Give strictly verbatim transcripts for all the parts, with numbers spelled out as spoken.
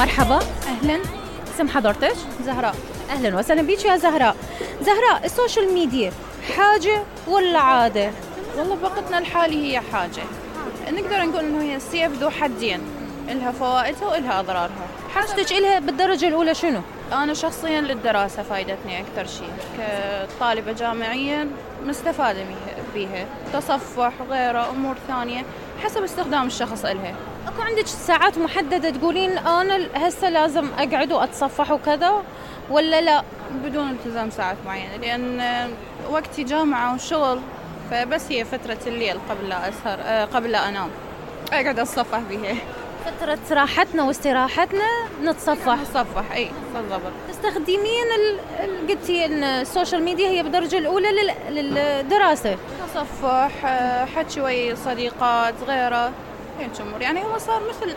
مرحبا. أهلا. اسم حضرتك؟ زهراء. أهلا وسهلا بيك يا زهراء. زهراء، السوشيال ميديا حاجة ولا عادة؟ والله بوقتنا الحالي هي حاجة، نقدر نقول إنه هي السيف ذو حدين، إلها فوائدها وإلها أضرارها. حاجتك إلها بالدرجة الأولى شنو؟ أنا شخصيا للدراسة فايدتني أكثر شيء، كطالبة جامعية مستفادة بيها، تصفح وغيره أمور ثانية حسب استخدام الشخص إلها. أكو عندك ساعات محددة تقولين أنا هسه لازم أقعد وأتصفح وكذا ولا لا؟ بدون التزام ساعات معينة، لأن وقتي جامعة وشغل، فبس هي فترة الليل قبل لا أسهر قبل لا أنام أقعد أتصفح بيها. فترة راحتنا واستراحتنا نتصفح. نتصفح أي بالضبط. تستخدمين ال... قلتي إن السوشيال ميديا هي بالدرجة الأولى لل... للدراسة. تصفح، حكي ويا صديقات غيره، هيك أمور. يعني هو صار مثل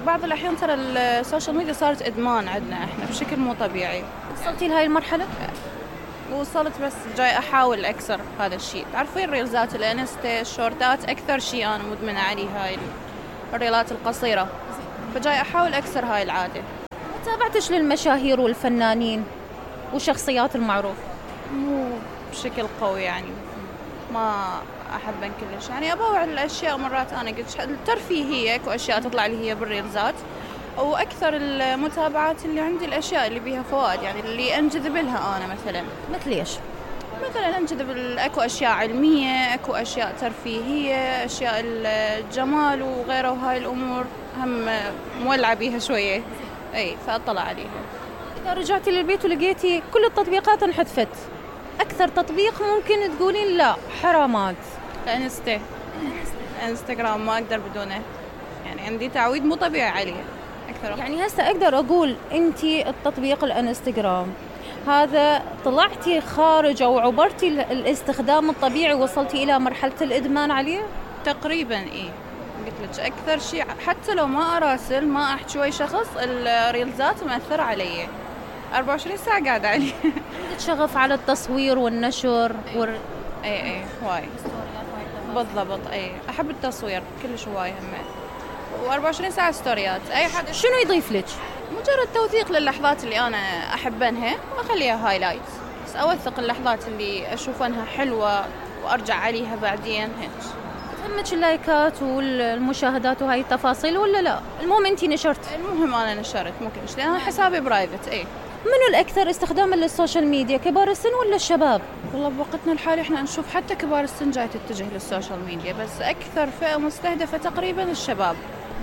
بعض الأحيان ترى السوشيال ميديا صارت إدمان عندنا إحنا بشكل مو طبيعي. وصلتي لهاي المرحلة؟ وصلت، بس جاي أحاول أكسر هذا الشيء. تعرفين الريلزات الانستا الشورتات أكثر شيء أنا مدمنة عليه، هاي الريلات القصيرة، فجاي أحاول أكسر هاي العادة. تابعتش للمشاهير والفنانين وشخصيات المعروفة؟ مو بشكل قوي يعني، ما أحبن كلش يعني. أبوع الأشياء مرات أنا قلت الترفيهية وأشياء تطلع لي هي بالريلزات، وأكثر المتابعات اللي عندي الأشياء اللي بيها فوائد، يعني اللي أنجذب لها أنا. مثلا مثل إيش؟ مثلا أنجذب أكو أشياء علمية، أكو أشياء ترفيهية، أشياء الجمال وغيره، وهاي الأمور هم مولعة بيها شوية، أي فأطلع عليها. إذا رجعتي للبيت ولقيتي كل التطبيقات انحذفت، أكثر تطبيق ممكن تقولين لا حرامات؟ انستا انستغرام ما أقدر بدونه، يعني عندي تعويد مو طبيعي عليه أكثر. يعني هسه أقدر أقول أنتي التطبيق الانستغرام هذا طلعتي خارج أو عبرتي الاستخدام الطبيعي، وصلتي إلى مرحلة الإدمان عليه؟ تقريبا إيه، قلت لك أكثر شيء حتى لو ما أراسل ما أحكي ويا شخص، الريلزات مأثر علي أربعة وعشرين ساعة قاعدة عليه. عندك شغف على التصوير والنشر وال... اي اي هواي بالضبط. اي احب التصوير كلش هواي هم، وأربعة وعشرين ساعة ستوريات. اي حد شنو يضيف لك؟ مجرد توثيق للحظات اللي انا احبنها واخليها هايلايت، بس اوثق اللحظات اللي اشوف انها حلوة وارجع عليها بعدين. هيك تهمك اللايكات والمشاهدات وهاي التفاصيل ولا لا؟ المهم انتي نشرت. المهم انا نشرت مو كلش، لان حسابي برايفت. اي منو الأكثر استخداما للسوشيال ميديا، كبار السن ولا الشباب؟ والله بوقتنا الحالي احنا نشوف حتى كبار السن جاي تتجه للسوشيال ميديا، بس أكثر فئة مستهدفة تقريبا الشباب.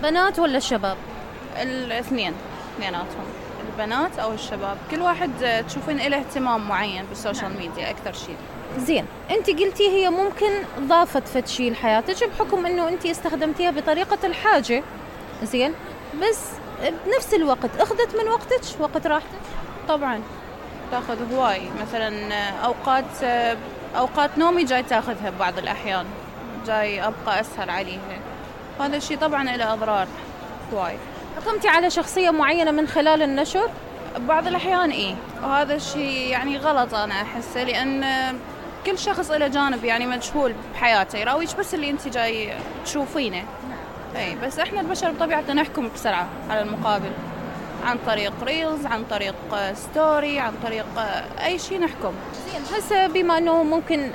بنات ولا الشباب؟ الاثنين، اثنيناتهم، البنات أو الشباب، كل واحد تشوفين له اهتمام معين بالسوشيال ميديا أكثر شيء. زين، أنت قلتي هي ممكن ضافت فد شيء لحياتك بحكم إنه أنت استخدمتيها بطريقة الحاجة، زين، بس بنفس الوقت أخذت من وقتك، وقت راحتك؟ طبعا تاخذ هواي، مثلا اوقات اوقات نومي جاي تاخذها ببعض الاحيان، جاي ابقى اسهر عليها. هذا الشيء طبعا له اضرار هواي. حكمتي على شخصيه معينه من خلال النشر؟ ببعض الاحيان ايه، وهذا الشيء يعني غلط انا احسه، لان كل شخص له جانب يعني مجهول بحياته، يراويش بس اللي انت جاي تشوفينه. اي بس احنا البشر بطبيعتنا نحكم بسرعه على المقابل، عن طريق ريلز، عن طريق ستوري، عن طريق أي شيء نحكم. زين، هسه بما أنه ممكن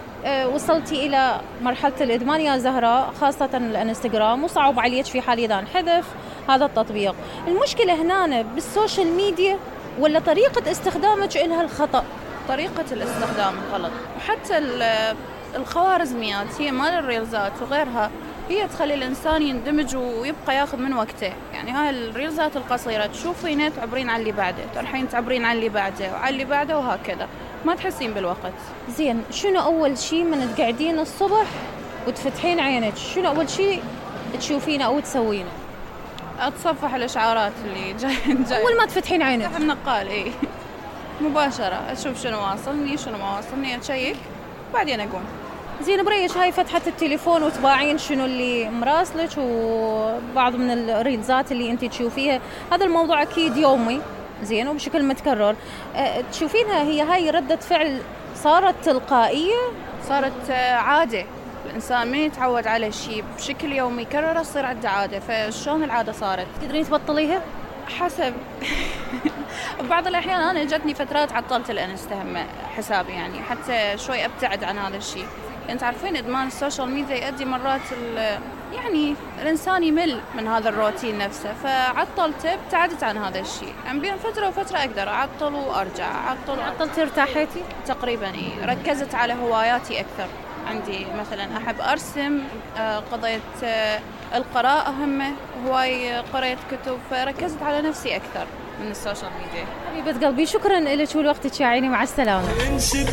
وصلتي إلى مرحلة الإدمان يا زهراء، خاصة الانستغرام، وصعب عليك في حال إذا انحذف هذا التطبيق، المشكلة هنا بالسوشيال ميديا ولا طريقة استخدامك إلها الخطأ؟ طريقة الاستخدام غلط، وحتى الخوارزميات هي مال الريلزات وغيرها هي تخلي الإنسان يندمج ويبقى ياخذ من وقته. يعني هاي الريلزات القصيرة تشوفين تعبرين عن اللي بعده، ترحين تعبرين عن اللي بعده وعن اللي بعده، وهكذا ما تحسين بالوقت. زين، شنو أول شيء من تقعدين الصبح وتفتحين عينك، شنو أول شيء تشوفينه أو تسوينه؟ أتصفح الإشعارات اللي جاي جاي أول ما تفتحين عينك؟ أفتح النقال إيه مباشرة، أشوف شنو واصلني شنو ما واصلني، أشيك بعدين أقوم. زين، بريش هاي فتحة التليفون وتباعين شنو اللي مراسلك وبعض من الريلزات اللي انت تشوفيها، هذا الموضوع اكيد يومي، زين، وبشكل متكرر. أه تشوفينها هي هاي ردة فعل صارت تلقائية، صارت عادة. الإنسان من يتعود على شيء بشكل يومي يكرره تصير عنده عادة، فشلون العادة صارت؟ تقدرين تبطليها؟ حسب. بعض الأحيان أنا جتني فترات عطلت الانستا هم حسابي، يعني حتى شوي أبتعد عن هذا الشيء. يعني تعرفين إدمان السوشيال ميديا يؤدي مرات يعني الإنسان يمل من هذا الروتين نفسه، فعطلته ابتعدت عن هذا الشيء. يعني بين فترة وفترة أقدر أعطل وأرجع أعطل. عطلتي ارتاحيتي؟ تقريبا إيه، ركزت على هواياتي أكثر. عندي مثلا أحب أرسم، قضيت القراءة همه، هواي قريت كتب، فركزت على نفسي أكثر من السوشيال ميديا. حبيبة قلبي شكرا لك ولوقتك يا عيني، مع السلامة.